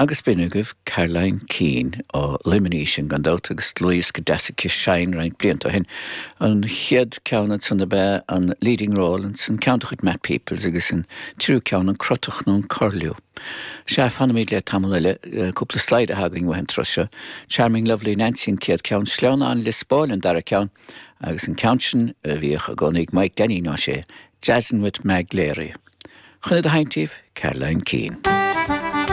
Agus b'in agaibh Caroline Keane ó Luimnigh í sin gan dabht agus dlúthdhiosca deas aici Shine roinnt blianta ó shin. An chéad ceann ansan ab ea an Leading Role, ansan ceann de chuid Matt Peoples agus an triú ceann an Crotach nó an Curlew. Sea, fanfaimid le tamall eile, cúpla slide atá againn uaidh an turas seo. Charming Lovely Nancy an chéad ceann, Sleamhnán Lios Póil an dara ceann agus an ceann sin a bhíodh i gcónaí ag Mike Danny Ó Sé, Jazzin' with Mag Leary. Chun iad a sheinnt daoibh, Caroline Keane.